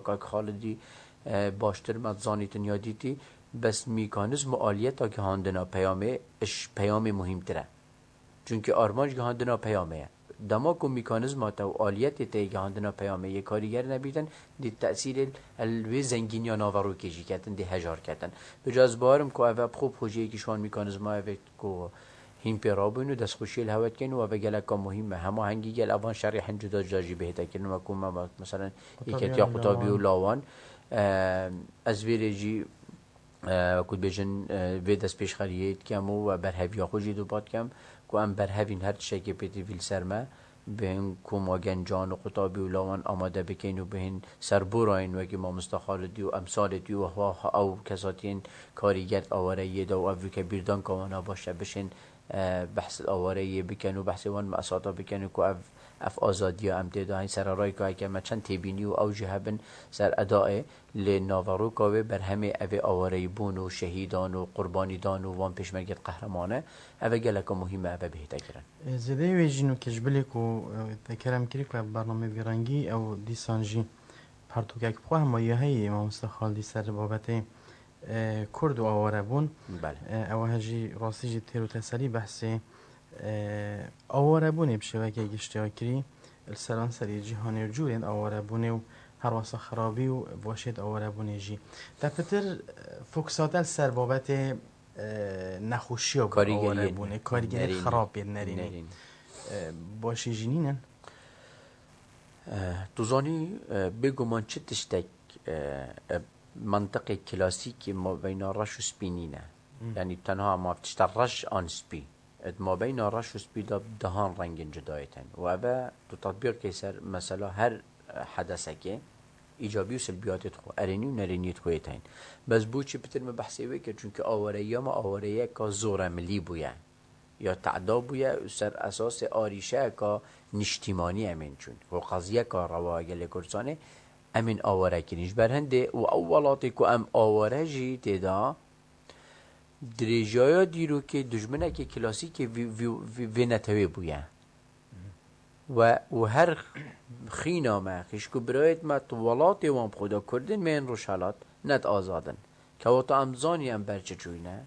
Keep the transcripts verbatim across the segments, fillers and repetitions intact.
Kak Xalidî, e, baştir me zanîtin ya dîtî, bes mîkanîzm û aliyeta gihandina peyamê, iş peyamê muhîmtir e. Çunkî armanc gihandina peyamê ye. Dema ku mîkanîzma te û aliyetê te yê gihandina peyamê yê karîger nebîtin, dê tesîrê el wê zengîniya naverokê jî ketin, dê hejar ketin. Bi ca ez bawerim ku ev e bi xwe projeyekî ji wan mîkanîzma ev ê ku hîn pê rabûn û destxweşiyê li hewe dikeyn û ev e geleka muhîm e. Hema hengî gel evan şerê hin cuda cuda jî bihête kirin, wekû me, me, meselen, Yeketiya Qutabiya û Lawan. Lawan. E, ez vê rê jî, e, wekû dibêjin, e, vê destpêşxeriyê dikem û we berheviya xwe jî duba dikem ku em berhevîn her tiştekê pêtivî li ser me. Bihên koma gencan û qutabî û lawan amade bikeyn û bihên serborayên wekî mamosta Xalidî û emsalê tî û hwa ew kesatiyên karîger di awareyê de û ev wike bîrdanka wan a baş e bişên, e, behs awareyê bikin û behsê wan mesata bikin û ku ev, ev azadiya em tê de hên sererayka heke me çend têbînî û ew jî hebin ser edayê. Lê naveroka wê berhemê ev ê awareyîbûn û şehîdan û qurbanîdan û van pêşmergê qehremane, ev e geleka muhîm e, ev e bihête kirin. Zêdeyê wê jî nûkej bilê ku, e, te kerem kirî ku ev bername vî rengî ew dîsan jî pertûkek bi xwe hema ya heye mamoste Xaldî ser babetê, e, Kurd û awarebûn. Belê. E, ew he jî rastî jî têr û teselî behsê, e, awarebûnê bi şêweke giştî ya kirî. Li seranserê cîhanê û cûrên awarebûnê û herwasa xirabî û weşêt awarebûnê jî. Te pitir, e, fokusa te li ser babetê, e, nexweşiya ku Karîgeriyên awarebûnê, karîgeriyên nerînî. Xirab yên nerînî. Nerînî. E, başî jî nînin? E, tu zanî, e, bêguman çi tiştek, e, e, mantiqê klasîkê mabeyna reş û spî nîne. Hmm. Yanî tenha ma tişta reş an spî. Di mabeyna reş û spî de dehan rengên cudayê tên. Û ev e tu tetbîq key ser mesela her, e, hedesekê îcabî û silbiyatê dixwe, erênî û nerêniyê dixwe yê tên. Bes bo çi pitir min behsê wê kir? Çunkî awareyiya me awareyeka zoremilî bûye. Ya teda bûye û ser esasê arîşeyeka niştîmanî em ên çûn. Ku qeziyeka rewa gelê Kurdistanê em ên aware kirîn. Ji ber hindê û ew welatê ku em aware jî tê de Dirêjaya dîrokê dijminekî klasîkê vî, vî, vî, vê netewê bûye. We û her xîna me, xîşk û birayêt me tu welatê wan bi xwe de Kurdên me yên Rojhelat net azad in. Kewata em zanî em ber çi çûyne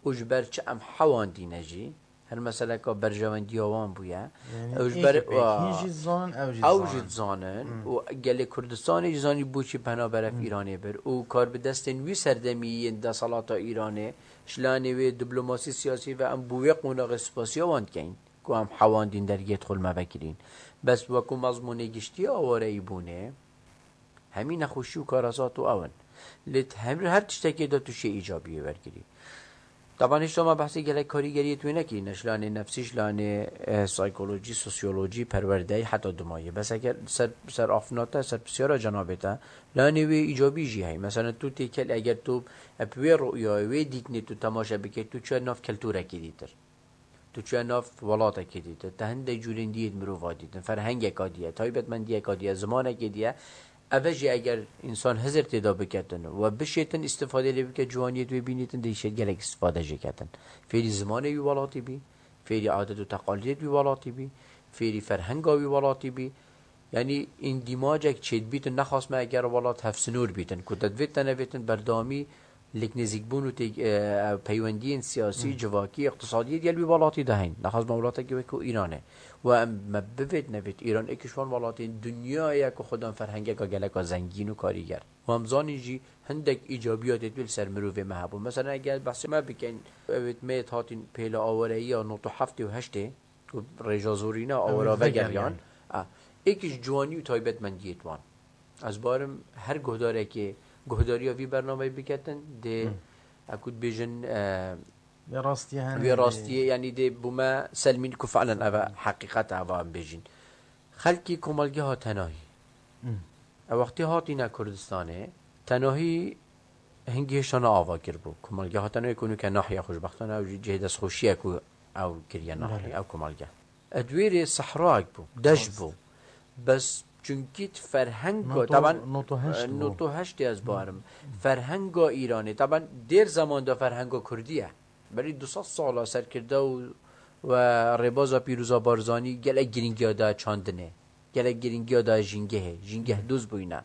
û ji ber çi em hewandîne jî, her meseleka berjewendiya wan bûye. Yanî Ew ji ber, êkê pêk hîn wa, jî dizanin, ew jî ew dizanin. Jî dizanin Hmm. û gelê Kurdistanê jî zanî boçî penaber ev Hmm. Îranê bir û kar bi destên wî serdemî yên deselata Îranê ji lanê wê diplomasî siyasî ve em bo wê qonaxê spasiya wan dikeyn ku em hewandîn dergê dixwe li me vekirîn. Bes wekû mezmûnê giştî awareyî bûnê, Hemî nexweşî û karasat û ew in. Lê di her, her tiştekê de tu şê îcabiyê wergirî. Taban hişta me behsê gelek karîgeriyê wê nekirî, ne ji lanê nefsî, ji lanê, e, saykolojî, sosyolojî, perwerdeyî heta dumayê. Bes eger ser, ser afna te, ser pisyara cenabê te, lanê wê îcabî jî heye. Mesela tu têkel, eger tu, e, bi wê ru'yayê, wê dîtinê tu temaşe bikey, tu çûye nav keltûrekê dîtir. Tu çûye nav welatekê dîtin, te hindek cûrên dî yê di mirova dîtin, ferhengeka dî ye, taybetmendiyeka dî ye, zimanekê dî ye. Ev e jî eger însan hizir tê de biketin û we bişêtin îstifadê lê bike, ciwaniyê di wê bînîtin, dê şêt gelek îstifade jê ketin. Fêrî zimanê wî welatî bî, fêrî adet û teqalîdê wî welatî bî, fêrî ferhenga wî welatî bî. Yanî îndîmacek çêdibîtin, nexas me eger welat hevsinûr bîtin, ku te divêt te nevêtin berdewamî lêk nêzîkbûn û tê-, e, peywendiyên siyasî, Hmm. civakî, îqtisadî yê digel wî welatî de heyîn. Nexas me welatekî wekû Îran e. Û em me bivêt nevêt Îran êk ji wan welatên dinyayê ye ku xwedan ferhengeka geleka zengîn û karîger. Û em zanîn jî hindek îcabiyatê wê li ser mirovê me hebû. Mesela eger behsê me bikeyn, ewêt me yêt hatîn pêla awareyiya nod û heftê û heştê, û rêja zorîna Ew awara ê vegeriyan. Vegeriyan. A, êk ji ciwanî û taybetmendiyê wan. Ez barim her guhdarekê guhdariya vî bernameyê biketin, dê, Hmm. eku dibêjin, e, Vê rastiyê hene vê dê. Rastiyê, yanî dê bûme selmîn ku fi'len ev e heqîqet e, eva em bêjin. Xelkî komelgeha tenahî. Hmm. Ew wextî hatîne Kurdistanê, tenahî hingî hêşta ne ava kiribû. Komelgeha tenahî ku nûke nahiya xweşbextane ew jî cihê destxweşiye ku ew kiriye nahiye, Belê. Ew komelgeh. Di wê rê sehrayek bû, deşt Rast. Bû. Bes çunkî di ferhenga, Noto, taban, noto heşt e, bû. Noto heştê ez barim. Ferhenga Îranê, taban dêr zeman de ferhenga Kurdî ye. Berî du sed sala serkirde û, we rêbaza pîroza Barzanî gelek girîngiya da çandinê. Gelek girîngiya da jîngehê. Jîngeh Hmm. doz bûyne.